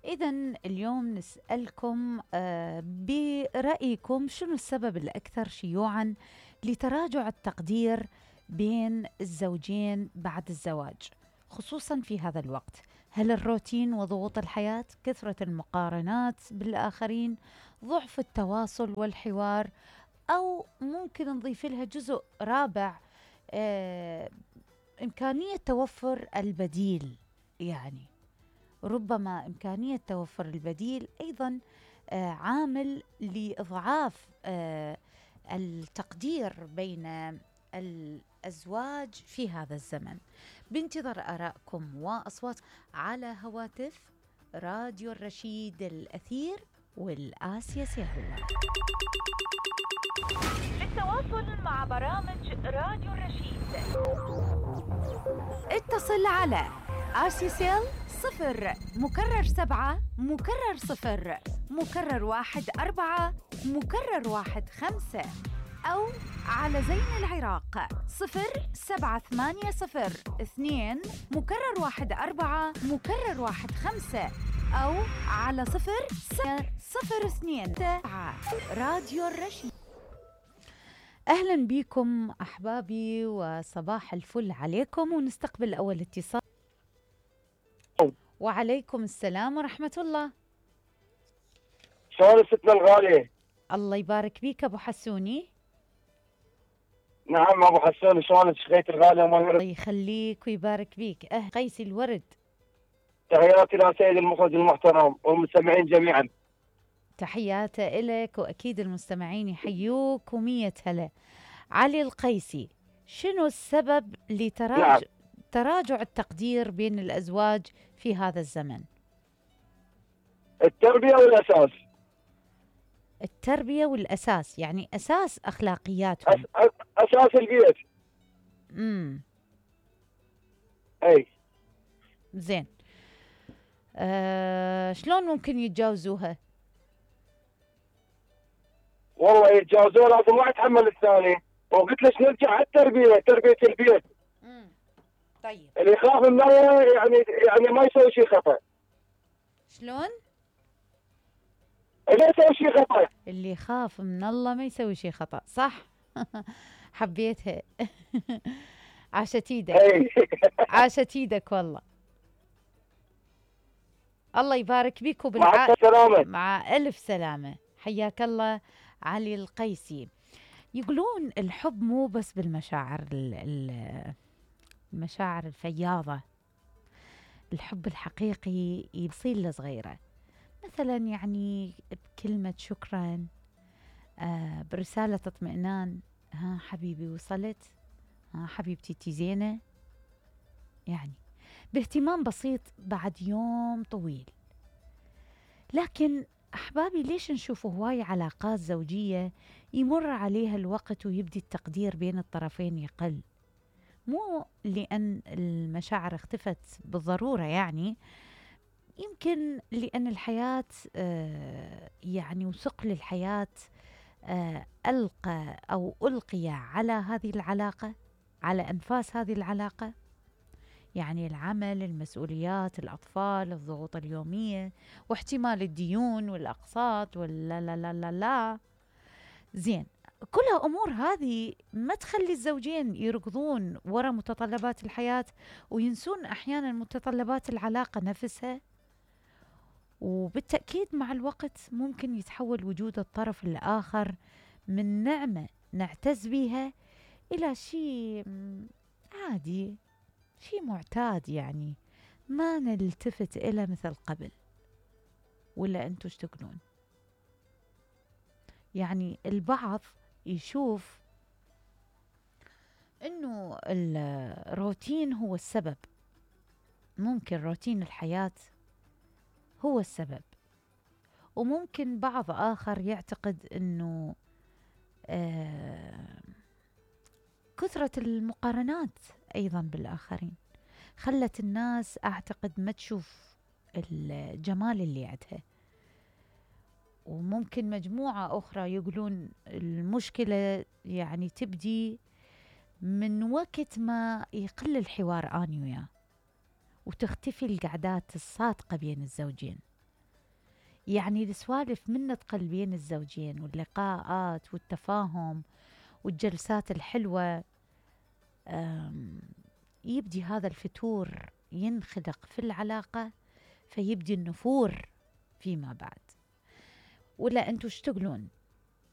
إذن اليوم نسألكم برأيكم شنو السبب الأكثر شيوعاً لتراجع التقدير بين الزوجين بعد الزواج، خصوصاً في هذا الوقت؟ هل الروتين وضغوط الحياة، كثرة المقارنات بالآخرين، ضعف التواصل والحوار، أو ممكن نضيف لها جزء رابع، آه إمكانية توفر البديل؟ يعني ربما إمكانية توفر البديل أيضا عامل لإضعاف التقدير بين الأزواج في هذا الزمن. بانتظار آرائكم وأصوات على هواتف راديو الرشيد الأثير والآسيا سيهولا. للتواصل مع برامج راديو الرشيد اتصل على آسيسيل 0***1*4**1*5 أو على زين العراق 07802*4*1*5 أو على 002 راديو الرشيد. أهلا بكم أحبابي وصباح الفل عليكم، ونستقبل أول اتصال. وعليكم السلام ورحمة الله. شلون ستنا الغالية؟ الله يبارك بيك أبو حسوني. نعم أبو حسون، شلونك شخيت الغالية؟ الله يخليك ويبارك بيك. قيس الورد. تحياتي لسيد المخرج المحترم والمستمعين جميعا. تحياتي إلك، وأكيد المستمعين يحيوك ومية هلا. علي القيسي، شنو السبب تراجع التقدير بين الأزواج في هذا الزمن؟ التربية والأساس. التربية والأساس، يعني أساس أخلاقياتهم. أساس البيت. أي زين. شلون ممكن يتجاوزوها؟ والله يتجاوزوها لازم واحد يتحمل الثاني، وقلت ليش نرجع على التربية، تربية البيت. طيب اللي يخاف من الله يعني ما يسوي شيء خطأ. شلون؟ اللي يسوي شيء خطأ. اللي يخاف من الله ما يسوي شيء خطأ، صح؟ حبيتها. عاشت ايدك. عاشت ايدك والله. الله يبارك بيك مع السلامة. مع ألف سلامة. حياك الله علي القيسي. يقولون الحب مو بس بالمشاعر، المشاعر الفياضة. الحب الحقيقي يصير لصغيرة، مثلا يعني بكلمة شكرا، برسالة اطمئنان، ها حبيبي وصلت، ها حبيبتي تي زينة، يعني باهتمام بسيط بعد يوم طويل. لكن أحبابي، ليش نشوف هواي علاقات زوجية يمر عليها الوقت ويبدي التقدير بين الطرفين يقل؟ مو لأن المشاعر اختفت بالضرورة، يعني يمكن لأن الحياة يعني وثقل الحياة ألقي على هذه العلاقة، على أنفاس هذه العلاقة، يعني العمل، المسؤوليات، الأطفال، الضغوط اليومية، واحتمال الديون والأقساط ولا لا لا لا لا. زين، كلها أمور هذه ما تخلي الزوجين يركضون ورا متطلبات الحياة وينسون أحيانا متطلبات العلاقة نفسها. وبالتأكيد مع الوقت ممكن يتحول وجود الطرف الآخر من نعمة نعتز بها إلى شيء عادي، شيء معتاد، يعني ما نلتفت إلى مثل قبل. ولا أنتوا ايش تقولون؟ يعني البعض يشوف إنه الروتين هو السبب، ممكن روتين الحياة هو السبب، وممكن بعض آخر يعتقد إنه كثرة المقارنات أيضا بالآخرين خلت الناس أعتقد ما تشوف الجمال اللي عندها. وممكن مجموعة أخرى يقولون المشكلة يعني تبدي من وقت ما يقل الحوار أنا وياه، وتختفي القعدات الصادقة بين الزوجين. يعني السوالف من تقل بين الزوجين واللقاءات والتفاهم والجلسات الحلوة، يبدي هذا الفتور ينخلق في العلاقة، فيبدي النفور فيما بعد. ولا أنتوا ايش تقولون؟